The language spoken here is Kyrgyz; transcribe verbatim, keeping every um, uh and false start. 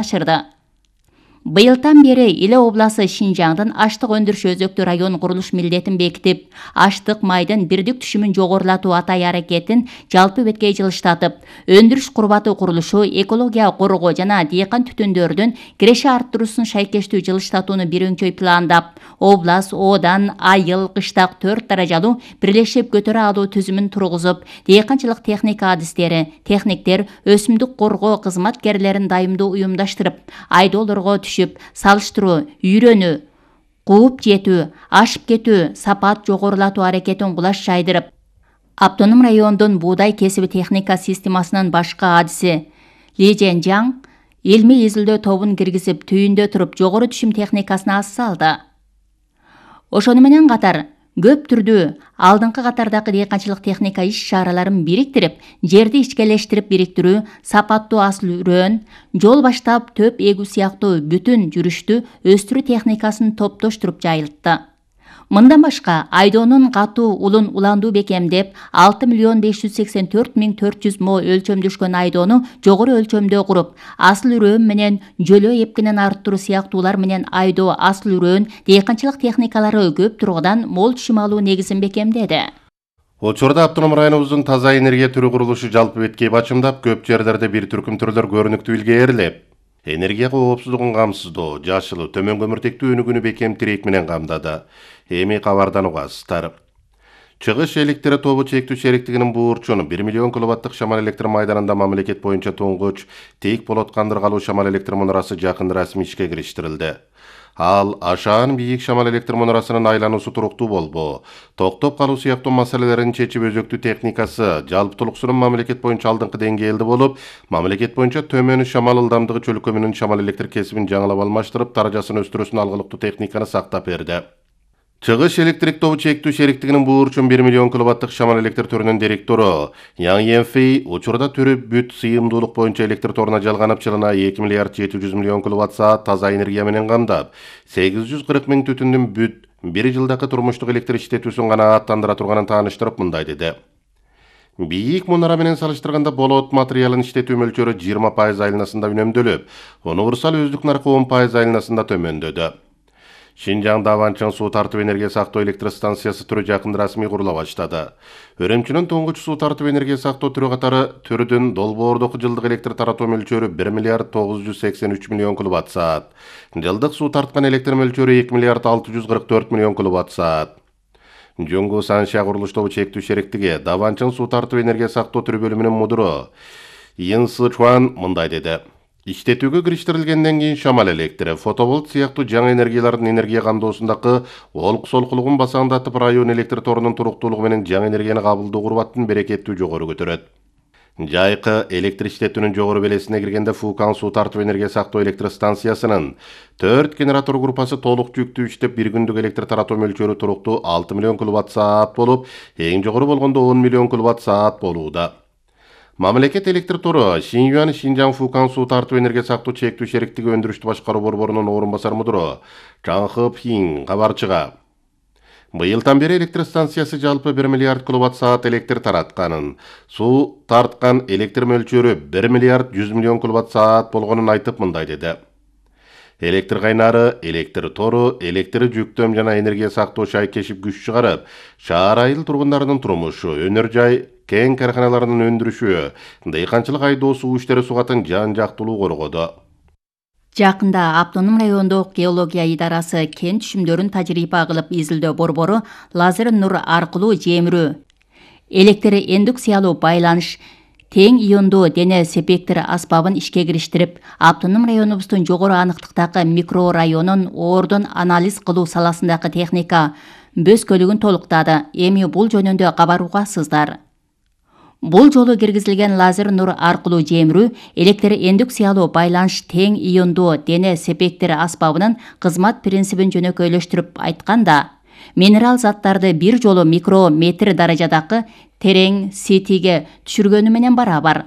ашырды. Быйылдан бери Иле обласы Шинжаңдын аштык өндүрүш өзөктүү район курулуш милдетин бекитип, аштык майдын бирдик түшүмүн жогорулатуу атай аракетин жалпы беткей жылыштатып, өндүрүш курбаты курулушу, экология коргоо жана дыйкан түтүндөрдүн киреше арттыруусун шайкештүү жылыштатууну бир өңчөй пландап, облас Одан айыл, кыштак төрт даражалуу бирлешип көтөрө алуу түзүмүн тургузуп, дыйканчылык техника адистери, техниктер, өсүмдүк коргоо кызматкерлерин дайымдуу уюмдаштырып, айдоолорго түшүп, салыштыруу, үйрөнүү, кууп жетүү, ашып кетүү, сапат жогорулатуу аракетин кулаш жайдырып, Автоном райондун буудай кесиби техника системасынын башкы адиси Ли Женжаң илмий изилдөө тобун киргизип, түйүндө туруп жогору түшүм техникасына аз салды. Ошону менен катар көп түрдүү алдыңкы катардагы дыйканчылык техника иш-чараларын бириктирип, жерди ичкелештирип бириктирүү, сапаттуу асыл үрөн, жол баштап төп эгүү сыяктуу бүтүн жүрүштү өстүрүү техникасын топтоштуруп жайылтты. Мындан башка айдоонун катуу улун уландуу бекемдеп, алты миллион беш жүз сексен төрт миң төрт жүз мо өлчөмдөшкөн айдоону жогору өлчөмдө куруп, асыл үрөн менен жөлөө эпкинин арттыруу сыяктуулар менен айдоо, асыл үрөн, дыйканчылык техникалары көп тургудан мол түшүм алуу негизин бекемдеди. Учурда автоном районубуздун таза энергия түрү курулушу жалпы беткей бачымдап, көп жерлерде бир түркүм түрлөр көрүнүктүү илгээрлеп, энергия коопсуздугун камсыздоо, жашыл, төмөн көмүртектүү өнүгүүнү бекем тирек менен камдады. Эми кабардан угасыздар. Чыгыш электр тобу чектүү шериктигинин буурчун бир миллион киловаттык шамал электр майданында мамлекет боюнча туңгуч тейик болот кандыргалуу шамал электр мунарасы жакын расмий ишке кириштирилди. Ал ашаан бийик шамал электр мунарасынын айлануусу туруктуу болбоо, токтоп калуу сыяктуу маселелерин чечип өзөктүү техникасы жалпытуулуксунун мамлекет боюнча алдыңкы деңгээлде болуп, мамлекет боюнча төмөн шамал ылдамдыгы чөлкөмүнүн шамал электр кесибин жаңылап алмаштырып, даражасын өстүрүүсүн алгылыктуу техниканы сактап берди. Чыгыш электрик тобу чектүү шериктигинин буурчун бир миллион киловаттык шамал электр төрүнүн директору Яң Енфей учурда түрү бүт сыйымдуулук боюнча электр торуна жалганып, жылына эки миллиард жети жүз миллион киловатт саат таза энергия менен камдап, сегиз жүз кырк миң түтүндүн бүт бир жылдагы турмуштук электр иштетүүсүн канааттандыра турганын тааныштырып мындай деди. Бийик мунара менен салыштырганда болот материалын иштетүү мөлчөрү жыйырма пайыз айланасында үнөмдөлүп, универсал өздүк наркы он пайыз айланасында төмөндөдү. Шинжаң Даванчың суу тартып энергия сактоо электр станциясы түрү жакын расмий курула баштады. Өрөмчүнүн туңгуч суу тартып энергия сактоо түрү катары түрүдүн долбоордук жылдык электр таратуу мөлчөрү бир миллиард тогуз жүз сексен үч миллион киловатт саат. Жылдык суу тарткан электр мөлчөрү эки миллиард алты жүз кырк төрт миллион киловатт саат. Жоңгу Санша курулуш тобу чектүү шериктиги Даванчың суу тартып энергия сактоо түрү бөлүмүнүн мудуру Ин Сычуан мындай деди. Иштетүүгө кириштирилгенден кийин шамал электри, фотоволт сыяктуу жаңы энергиялардын энергия камдоосундагы олук-солкулугун басаңдатып, район электр торунун туруктуулугу менен жаңы энергияны кабылдоо курбаттын берекеттүү жогору көтөрөт. Жайкы электр иштетүүнүн жогору белесине киргенде Фукан суу тартып энергия сактоо электр станциясынын төрт генератор группасы толук жүктүү иштеп, бир күндүк электр таратуу мөлчөрү туруктуу алты миллион киловатт саат болуп, эң жогору болгондо он миллион киловатт саат болууда. Мамлекет электр тору Шинюан Шинжаң Фукан суу тартып энергия сактоо чектүү шериктиги өндүрүштү башкаруу борборунун орун басар мудуру Чаң Хып Хин кабарчыга быйылдан бери электр станциясы жалпы бир миллиард киловатт саат электр таратканын, суу тарткан электр мөлчөрү бир миллиард жүз миллион киловатт саат болгонун айтып мындай деди. Электр кайнары, электр тору, электр жүктөм жана энергия сактоо шайкешип күч чыгарып, шаар айыл тургундарынын турмушу, өнөр жай кен карканаларынын өндүрүшү, дыйканчылык айдоо суу иштери сугатын жан жактылуу коргоду. Жакында Автоном райондук геология идарасы кен түшүмдөрүн тажрыйба кылып изилдөө борбору лазер нур аркылуу жемирүү, электр индукциялуу байланыш, тең иондуу дене спектр аспабын ишке кириштирип, Автоном районубуздун жогору аныктыктагы микрорайонун ордун анализ кылуу саласындагы техника бөскөлүгүн толуктады. Эми бул жөнүндө кабар угасыздар. Бул жолу киргизилген лазер нур аркылуу жемирүү, электр индукциялуу байланыш, тең иондуу дене спектр аспабынын кызмат принцибин жөнөкөйлөштүрүп айтканда, минерал заттарды бир жолу микрометр даражадагы терең сетиге түшүргөнү менен барабар.